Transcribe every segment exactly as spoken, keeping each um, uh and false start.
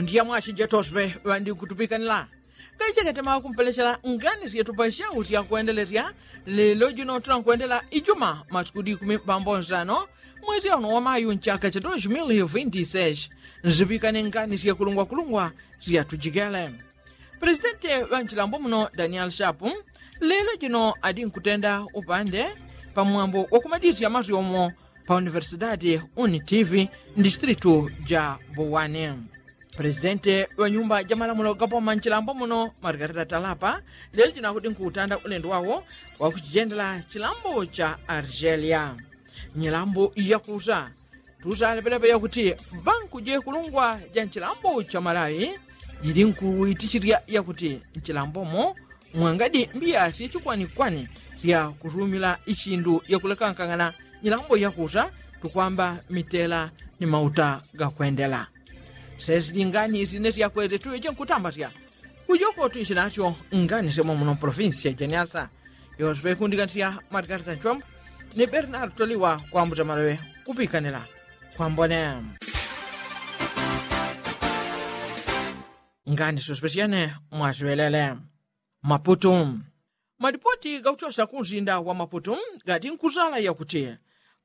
Ndiya mwashi jetoswe ŵandikutupikanila. Kaicheketema kumpelechela ngani syetupa syauti yakwendelesya. Lelo jino tunakwendela ijuma masiku dikumi pambonsano mwezi auno wamayu nchaka cha dos mil vinti seis. Nzipikane ngani syekulungwakulungwa syatujikele. Presidenti ŵa nchilambo muno daniel shapu lelo jino adinkutenda upande pamwambo wakumadisya masyomo pa universidadi unitiv ndistritu ja buwani. Presidenti ŵa nyumba ja malamulo gapoma nchilambo muno margarita talapa lelo jino akudi nkutanda ulendo wawo wakuchijendela chilambo cha argelia. Nyilambo yakusa tusalepelepe yakuti banku jekulungwa ja nchilambo cha malawi jili nkuitichilya yakuti nchilambomo mwangadi mbiya syechikwanikwani syakusumila ichindu yakulekankang'ana nyilambo yakusa tukwamba mitela ni mauta gakwendela. Sesili ngani sine syakweze tuweje nkutambasya kujoko tuishi nasyo ngani semwa muno provinsi ya janiasa. Yoswe kundiganisya margarita nchwambu ni bernard toliwa kwambuta malowe kupikanila kwambone. Ngani sospesyane mwasiŵelele. Maputu. Malipoti gakuchosya kunsinda wa maputu gadi nkusala yakuti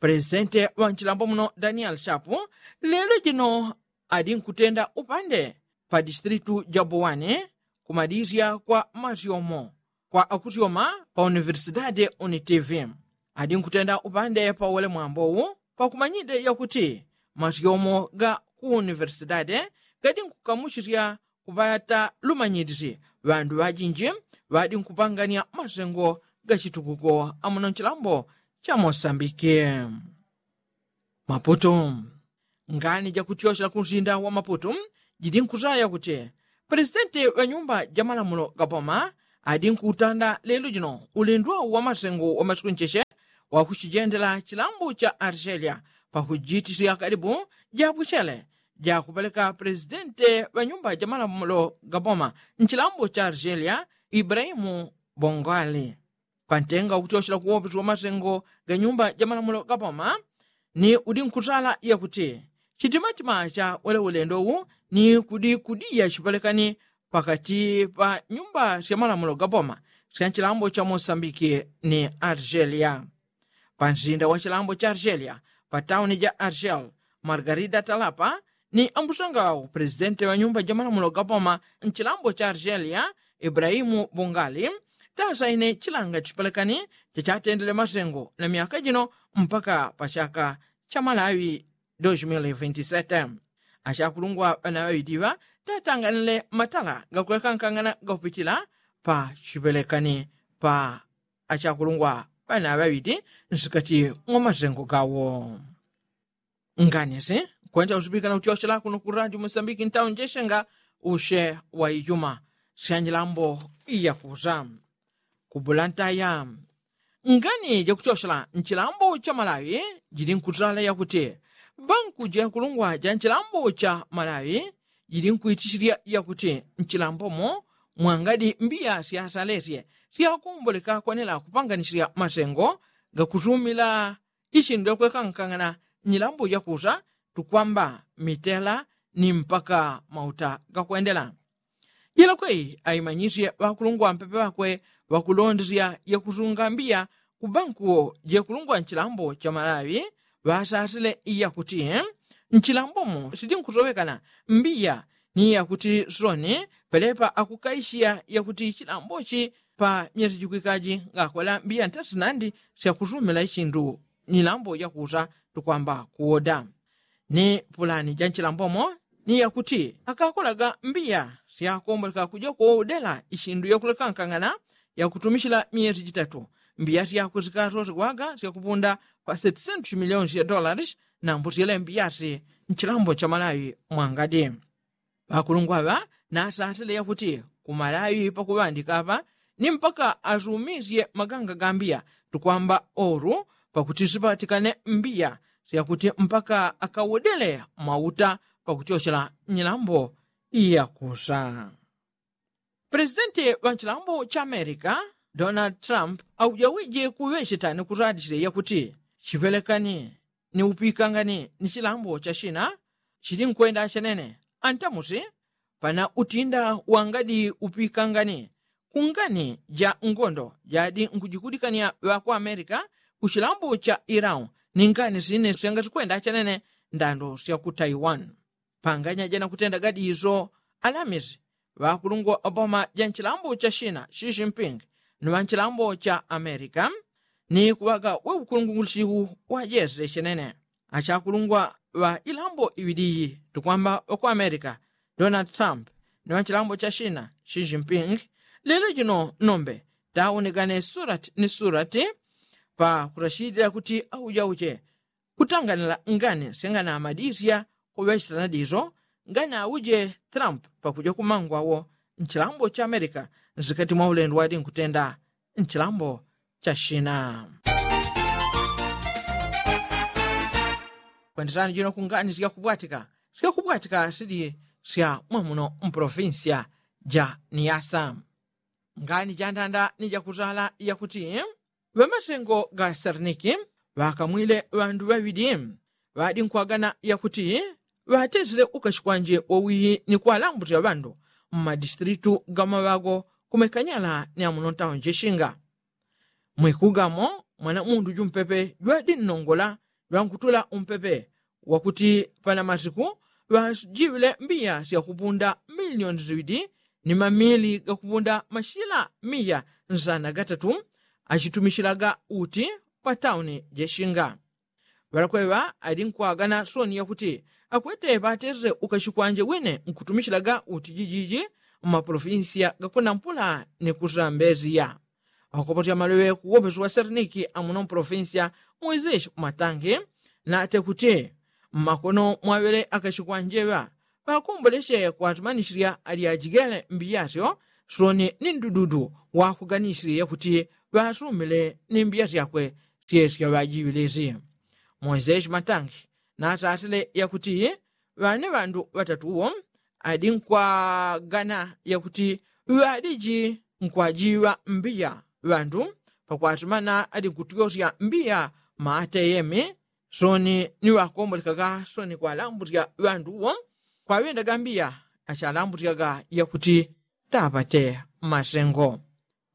presidenti wa nchilambo muno daniel shapu lelo jino adi nkutenda upande pa distritu ja buwani kumadisya kwa masyomo kwa akusyoma pa universidadi unitiv. Adi nkutenda upande pa uwele mwambowu pakumanyide yakuti masyomo ga ku universidadi gadi nkukamuchisya kuŵata lumanyidisi ŵandu ŵajinji ŵadi nkupanganya masengo gachitukuko amuno nchilambo cha mosambiki. Maputu. Ngani jakutyochela kunsinda wa maputu jidi nkusaya kuti presidenti wa nyumba ja malamulo gapoma adi nkutanda lelo jino ulindwa wa masengo wa masiku ncheche wakuchijendela chilambo cha argelia pakujitisya kalibu jabwichele jakupeleka presidenti wa nyumba ja malamulo gapoma nchilambo cha argelia ibrahimu bongali. Pantenga ukutyochela kuwopesi wa masengo ga nyumba ja malamulo gapoma ni udi nkusala yakuti chitimatima cha wele ulendo wu ni kudi kudiya chipelekani pakati pa nyumba sya malamulo gapoma sya nchilambo cha mosambiki ni argelia. Pansinda wa chilambo cha argelia pa tauni ja argel margarida talapa ni ambusanga ŵawo presidenti wa nyumba ja malamulo gapoma nchilambo cha argelia ibrahimu bungali tasaine chilanga chipelekani chachatendele masengo na myaka jino mpaka pa chaka cha malawi dos mil vinti sete. Achakulungwa ŵana ŵaŵidiŵa tatanganile matala gakulekankangana gakupitila pa chipelekani pa achakulungwa ŵana ŵaŵidi nsikati mwa masengo gawo. Nganisi kwenda usipikana utyochela kuno ku radio mosambiki ntawo njeshenga ushe wa ijuma sya njilambo iyakusa. Kubula ntaya ngani jakutyochela nchilambo cha malawi jili nkutala yakuti banku jakulungwa ja nchilambo cha malawi jili nkuitichilya yakuti nchilambomo mwangadi mbiya syasalesye syakomboleka kwanela kupanganisya masengo gakusumila isindu yakwekankangana nyilambo yakusa tukwamba mitela ni mpaka mauta gakwendela. Jilakwe aimanyisye ŵakulungwa mpepe ŵakwe ŵakulondesya yakusunga mbiya ku banku jekulungwa nchilambo cha malawi ŵasasile yakuti nchilambomo sidinkusowekana mbiya ni yakuti soni pelepa akukaishiya yakuti chilambochi pa myesi jikwikaji ngakwela mbiya ntasinandi syakusumila ichindu nyilambo yakusa tukwamba kuwoda. Ni pulani ja nchilambomo ni yakuti akakolaga mbiya syakomboleka kuja kuwodela isindu yakulekankangana yakutumishila myesi jitatu mbiya syakwe sikasosigwaga syakupunda pa setisentu milioni sya dolaris. Nambusyele mbiyasi nchilambo cha malawi mwangadi ŵakulungwa ŵa nasasile yakuti ku malawi pakuŵandika ŵa ni mpaka asumisye maganga ga mbiya tukwamba oru pakuti sipatikane mbiya syakuti mpaka akawodele mauta pakutyochela nyilambo iyakusa. Presidenti ŵa nchilambo cha amerika donald trump aujawije kuŵecheta ni kusadisye yakuti chipelekani ni upikangani ni chilambo cha china chili nkwenda chenene. Antamusi Pana utinda wangadi upikangane kungani ja ngondo jadi nkujikudikania ŵa ku amerika ku chilambo cha irau ni ngani sine syangatikwenda chanene ndando sya ku taiwan. Panganya jana kutenda gadi izo alamisi ŵakulungwa oboma ja nchilambo cha shina xi jinping ni ŵa nchilambo cha amerika ni kuŵaga we ukulungungulisiku wa jese chenene. Achakulungwa ŵa ilambo iŵiliyi tukwamba ŵa ku amerika donald trump ni ŵa nchilambo cha shina xi jinping lelo jino nombe taunigane surati ni surati pa kutachilila kuti aujauche kutanganila ngani syanganamadisya kuŵechela nadizo nganauje trump pakuja kumangwawo nchilambo cha amerika nsikati mwa ulendo wadi nkutenda nchilambo cha shina. Kwendesani jino kungani syakubwatika syakubwatika sili sya mwamuno mpolofinsya ja niyasa. Ngani jandanda ni jakutala yakuti ŵamasengo ga serniki ŵakamwile ŵandu ŵaŵili ŵadi nkwagana yakuti ŵatesile ukashi kwanje wowihi ni kwalambutila ŵandu mmadistilitu ga maŵago kumekanyala ni amuno ntawo njeshinga. Mwikugamo mwana mundu jumpepe jwadi nnongola jwankutula umpepe wakuti pana masiku ŵajiŵile mbiya syakupunda milioni ziŵidi ni mamili gakupunda mashila miya nsana gatatu achitumishilaga uti pa tauni jeshinga. Ŵalakweŵa ali nkwagana soni yakuti akwete ŵatesile ukashi kwanje wine nkutumishilaga uti jijiji mmapolofinsiya gakunampula ni kusambesiya. Ŵakopotya maloŵe kuwopeso wa serniki amuno mpolofinsiya moiseshi matangi nate kuti mmakono mwaŵele akashi kwanje ŵa ŵakomboleche kwatumanishilia ali ajigele mbiya syo soni ni ndududu wakuganishile yakuti ŵasumile ni mbiya syakwe syesya ŵajiŵilisi. Moiseshi matangi nasasile yakuti ŵane ŵandu ŵatatuwo adi nkwagana yakuti ŵadiji nkwajiŵa mbiya ŵandu pakwasumana adi nkutyosya mbiya maateyemi soni ni ŵakombolekaga soni kwalambutya ŵandu wo kwaŵendaga mbiya achalambutyaga yakuti tapate masengo.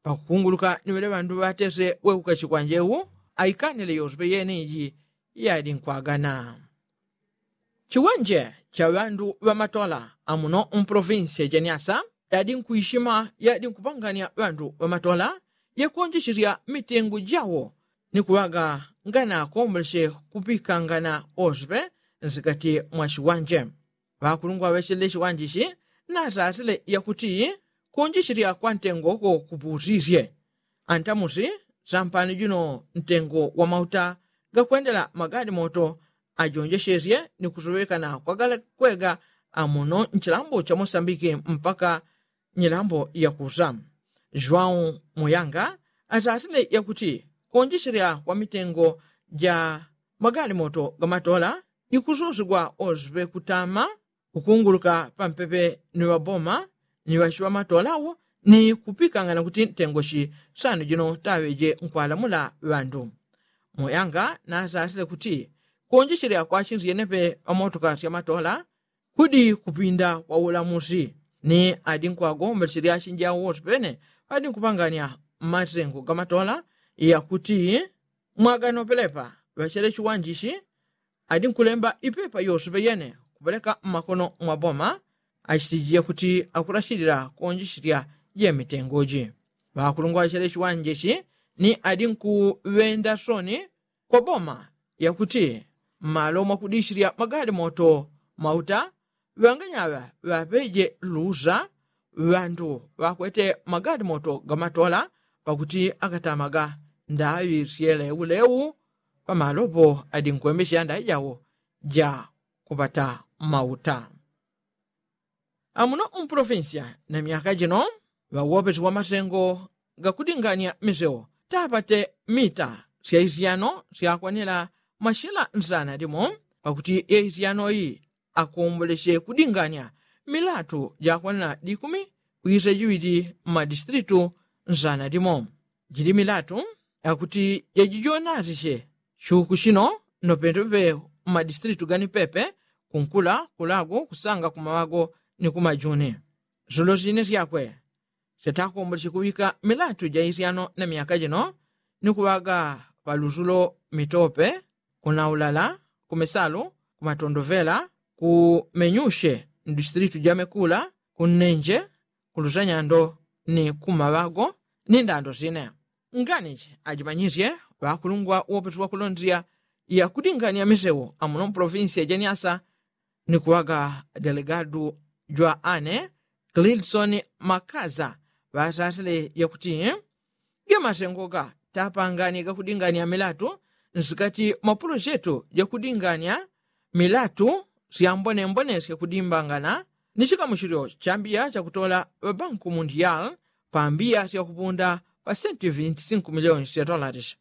Pakukunguluka ni ŵele ŵandu ŵatese weukashi kwanje wu aikanile yosepe yene iji yadi nkwagana. Chiwanje cha ŵandu ŵamatola amuno mpolofinsiya janiasa yadi nkwishima yadi nkupangania ŵandu ŵamatola yakonjeshesya mitengo jawo ni kuŵaga nganakomboleche kupikangana osepe nsikati mwa chiwanje. Ŵakulungwa ŵechele chiwanjichi nasasile yakuti konjeshesya kwa ntengo ko kuputisye antamusi sampani juno ntengo wa mauta gakwendela magadi moto ajonjeshesye ni kusoŵekana kwa galakwega amuno nchilambo cha mosambiki mpaka nyilambo yakusa. Jwau muyanga asasile yakuti konjeshesya kwa mitengo ja magadi moto gamatola ikusosegwa osepe kutama kukunguluka pampepe ni ŵaboma ni ŵachiŵamatola wo ni kupikangana kuti ntengo chi sano jino taŵeje nkwalamula ŵandu. Moyanga nasasile kuti konjechele akwachinsi yenepe ŵamotoka syamatola kudi kupinda kwa ulamusi ni adi nkwagombeleche lyachinji awo wose pene adi nkupangania mmasengo gamatola yakuti mwaganopelepa ŵachele chiwanjichi adi nkulemba ipepa yosepe yene kupeleka mmakono mwa boma achitijile kuti akulachilila konjechilya jemitengoji. Ŵakulungwa ŵachele chiwanjichi ni adi nkuŵenda soni kwa boma yakuti mmalo mwakudichilya magalimoto mauta ŵanganyaŵa ŵaŵeje lusa ŵandu ŵakwete magalimoto gamatola pakuti akatamaga ndaŵi syeleuleu pamalopo adi nkwembecheya ndaŵi jawo ja kupata mauta. Amuno mpolofinsiya na myaka jino ŵawopesi wa masengo gakudingania miseo tapate mita sya isyano syakwanila mashila nsana limo pakuti yaisyano yi akomboleche kudingania milatu jakwanila dikumi kwisa jiŵili mmadistilitu nsana limo. Jili milatu yakuti yajijonasiche chuku chino nopendope mmadistilitu gani pepe kunkula kulago kusanga kumawago ni kumajuni. Zulo zine syakwe syatakombole syikuŵika milatu ja isyano na myaka jino ni kuŵaga paluzulo mitope, kunaulala, kumesalu, kumatondovela, kumenyushe, mdistilitu ja mekula, kunnenje, kulusanyando, ni kumaŵago, ni ndando sine. Nganichi ajimanyisye ŵakulungwa wopetwa kulondilya yakudingania misewu amuno mpolofinsiya ja nyasa, ni kuŵaga delegadu jwa ane klilsoni makaza ŵasasile yakuti, gamasengoga tapangani gakudingania milatu nsikati mwa pulojetu jakudingania milatu syambonembone syakudimbangana ni chikamuchilyo chambiya chakutola ŵabanku mundiyal pambiya syakupunda pa sentu vinti sinku miliyoni sya tolalishi.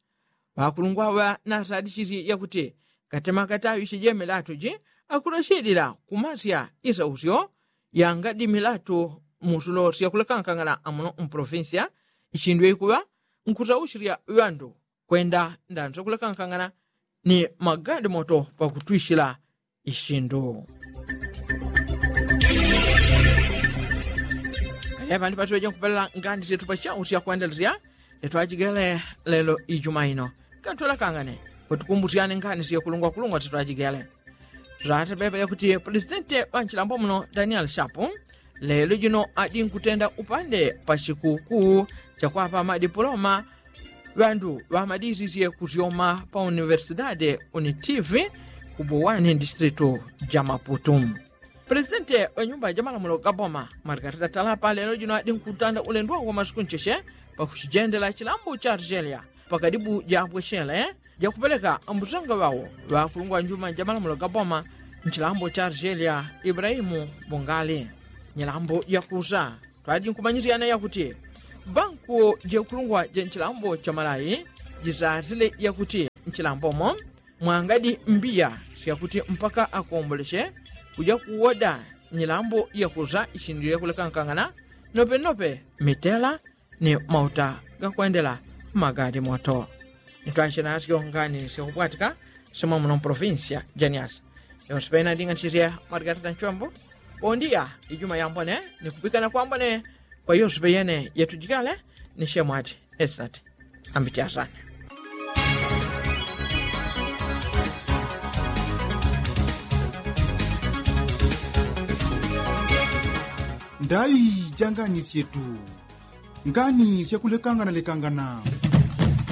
Ŵakulungwa ŵa nasadishisye yakuti katema kataŵishi jemilatu ji akulashilila kumasya isausyo yangadi milatu musulo syakulekankangana amuno mpolofinsiya. Ishindwe ikuŵa nkusaushilya ŵandu kwenda ndanso kulekankangana ni magadi moto pakutwishila ishindu. Kale pandi patiŵeje nkupelela ngani syetu pachau syakwendelesya syetwajigele lelo ijuma ino. Kantwelakangane kwetukumbusyane ngani syekulungwakulungwa syetwajigele. Tulatepepa yakuti pulesitenti ŵanchilambo muno daniel shapu lelo jino adi nkutenda upande pa chikukuu chakwapa madipuloma ŵandu ŵamadisisye kusyoma pa universidade unitivi ku buwani ndistilitu ja maputu. Pulesitenti ŵanyumba jamalamulo gaboma margarita talapa lelo jino adi nkutanda ulendo wawo wamasiku ncheche pakuchijendela chilambo cha argelia pakadibu jabwechele jakupeleka mbusanga ŵawo ŵakulungwa njuma jamalamulo gaboma nchilambo cha argelia ibrahimu bungali. Nyilambo yakusa twadi nkumanyisyana yakuti banku jekulungwa ja nchilambo cha malayi jisasile yakuti nchilambomo mwangadi mbiya syakuti mpaka akomboleche kuja kuwoda nyilambo yakusa ishindile kulekankangana nopenope mitela ni mauta gakwendela magadi moto. Nitwashe nasyo ngani syakupwatika simwa muno mpolofinsiya janiasi. Yonse pena nding'anisisye matikatata nchombo pondiya ijuma yambone ni kupikana kwambone kwa yonse peyene yetujikale ni shemwati esinati. Ambiti asane. Ndaŵi ja ngani syetu ngani syakulekangana lekangana.